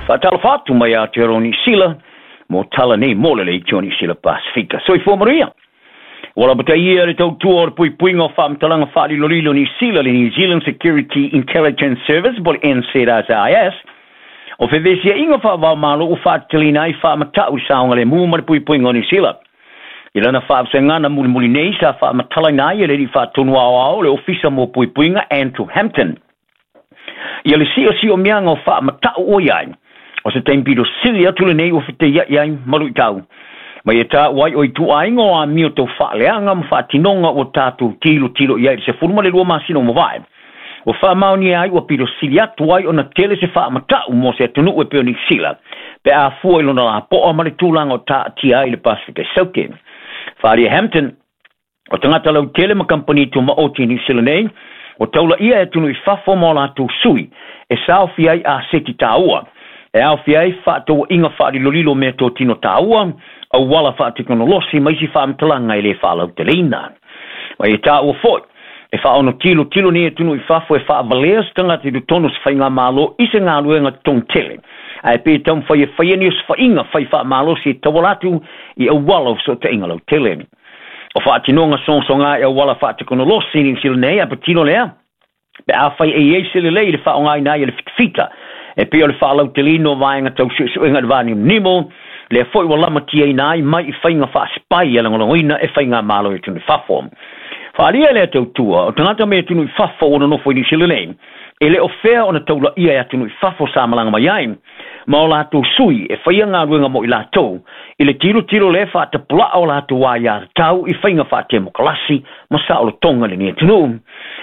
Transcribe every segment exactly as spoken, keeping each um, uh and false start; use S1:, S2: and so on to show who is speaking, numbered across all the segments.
S1: Faatalofa atu mai Aotearoa Niu Sila mo tala nei mo le Leitio Niu Sila Pasifika. Soifua manuia. Ua lapataia le tautua o le puipuiga o faamatalaga faalilolilo Niu Sila, le New Zealand Security Intelligence Service po le N Z S I S, o fevesiaiga faavaomalo ua faatateleina ai faamatau i saogalemu ma le puipuiga o Niu Sila. I lana faavasegana mulimuli nei sa faamatalaina ai e le alii faatonu aoao le Ofisa mo Puipuiga Andrew Hampton ia le siosi'omiaga o faamata'u ua iai o se taimi pito sili atu lenei ua fetaia'i ai ma lu'itau ma ia tāua ai o ituaiga o amio tau faaleaga ma faatinoga ua tatou tilotilo i ai i le sefulu ma le lua masina o mavae ua faamaonia ai ua pito sili atu ai ona tele se faamata'u mo se atunu'u e pei o Niu Sila pe afua i lona lapo'a ma le tulaga o taatia ai le Pasifika Saute. Faaalia Hampton o tagata lautele ma kamupani tumaoti i Niu Sila nei o taulaia e atunuu i fafo ma o latou sui e saofia ai aseti tāua e aofia ai faataua'iga faalilolilo meatotino tāua, auala faatekonolosi ma isi faamatalaga e lē faalauteleina. Ma e tāua fo'i e faaono tilotilo nei atunuu i fafo e faavalea se tagata i totonu se faigamālō i se galuega totogi tele ae pe taumafai e faia ni osofaiga fai faamalosi e tauala atu i auala o fesootaiga lautele. O faatinoga sogasoga e auala faatekonolosi i Niu Sila nei a patino lea pe afai e iai se lelei i le faaaogaina ai e le fitafita e pei o le faalautelino vaega tau suesuega i le vanimonimo lea foi ua lamatiaina ai mai i faiga faasipai e lagolagoina e faigamalo i atunuu i fafo. Faaalia lea tautua o tagata mai atunuu i fafo ua nonofo i Niu Sila nei e le o fea ona taulaia e atunuu i fafo sa malaga mai ai ma o latou sui e faia galuega mo i latou i le tilotilo lea faatapula'a o latou aiātatau i faiga faatemokalasi ma saolotoga lenei atunuu.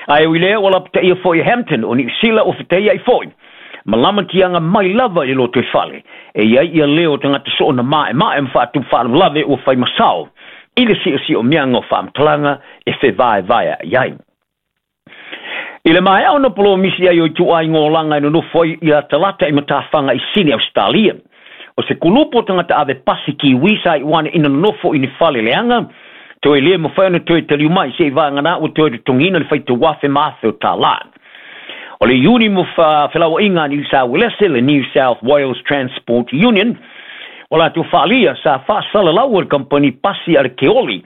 S1: Ae ui lea ua lapataia foi e Hampton o Niu Sila ua fetaia'i foi ma lamatiaga mai lava i le lotoifale e iai ia leo o tagata soona maemae ma faatupu faalavelave ua fai masao i le siosi'omiaga o faamatalaga e fevaevaea'i ai. I le maea ona polomisi ai o ituaiga olaga e nonofo ai ia Talata i matafaga i Sini Ausetalia. O se kulupu o tagata ave pasi Kiwi sa iu ane ina nonofo i ni fale leaga, toe lē mafai ona toe taliu mai se'i vagana ua toe totogiina le faitauafe ma afe o tālā. O le iuni mo felaua'iga a Niu Sauelese, le New South Wales Transport Union, o latou faalia sa faasalalau e le kamupani pasi a le Keoli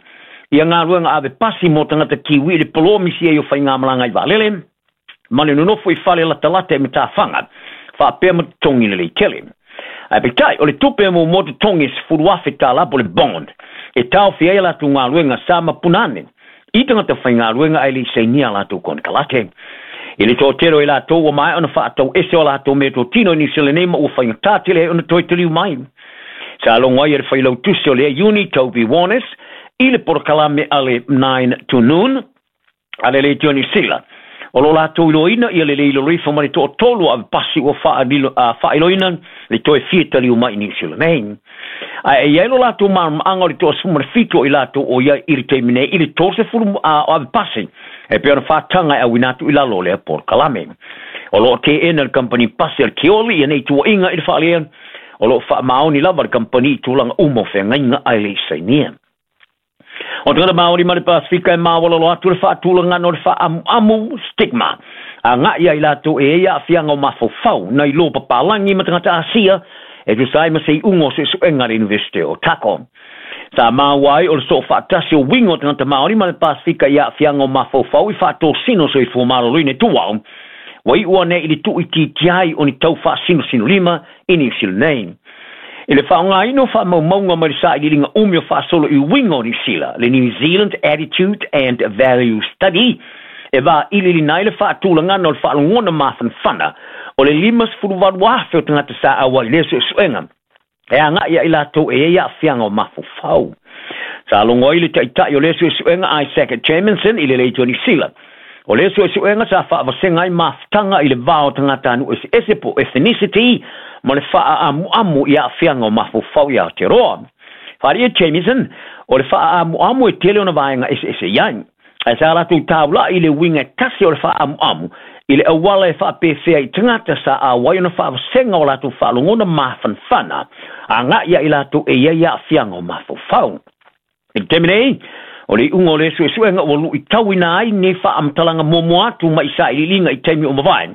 S1: ia galuega ave pasi mo tagata Kiwi i le polomisi ai o faigamalaga i vaalele ma le nonofo i fale latalata e matafaga faapea ma totogi lelei tele. Ae peitai o le tupe mo mo totogi e sefulu afe tālā po le bond e taofia ai a latou galuega sa mapuna ane i tagata faigaluega ae le i sainia latou konekarate. I le toatele o i latou ua maea ona faatau ese o latou meatotino i Niu Sila nei ma ua faigatā tele ai ona toe taliu mai. Sa logo ai e le failautusi o lea iuni Toby Warnes i le polokalame a le nine to Noon a le Leitio Niu Sila. O lo latou iloaina ia le lē ilolo ifo ma le toatolu o ave pasi ua faailoina le toe fia taliu mai i Niu Sila nei. Ae e iai lo latou malamalamaaga o le toasefulu ma le fitu o i latou o iai i le taimi nei i le tolusefulu o ave pasi e pei ona faataga e auina atu i lalo o lea polokalame. O loo teena le kamupani pasi a le Keoli ia nei tuuaiga i le faalea o loo faamaoni lava le kamupani i tulaga uma o feagaiga ae le i sainia. O tagata Maori ma le Pasifika e maualalo atu le faatulagana o le faaamuamu, stigma, aga'i ai latou e ai aafiaga o mafaufau nai lo papalagi ma tagata Asia e tusa ai ma se iuga o suesuega a le Iunivesite o Otago. Sa maua ai o le soo faatasi o uiga o tagata Maori ma le Pasifika i aafiaga o mafaufau i faatosina o soifua maloloina e tuau ua iu ane i le tuuitiitia ai o ni tau faasinosinolima i Niu Sila nei. I le faaaogaina o faamaumauga mai le sailiiliga umi o faasolo i uiga o Niu Sila, le New Zealand Attitude and Value Study, e vailiiliina ai le faatulagana o le faalogona mafanafana o le limasefuluvalu afe o tagata sa auai i lea suesuega e aga'i ai latou e ai aafiaga o mafaufau. Sa logo ai le ta'ita'i o lea suesuega Isaac Jamieson i le Leitio Niu Sila. O lea suesuega sa faavasega ai mafutaga i le va o tagata anu'u eseese po ethnicity ma le faaamuamu i aafiaga o mafaufau i Aotearoa. Faaalia Jamieson o le faaamuamu e tele ona vaega eseese i ai. Ae sa latou taula'i i le uiga e tasi o le faaamuamu i le auala e faapefea i tagata sa auai ona faavasega o latou faalogona mafanafana aga'i ai latou e iai aafiaga o mafaufau. I le taimi nei, o le iuga o le suesuega ua lu'itauina ai nei faamatalaga muamua atu mai sailiiliga i taimi o mavae.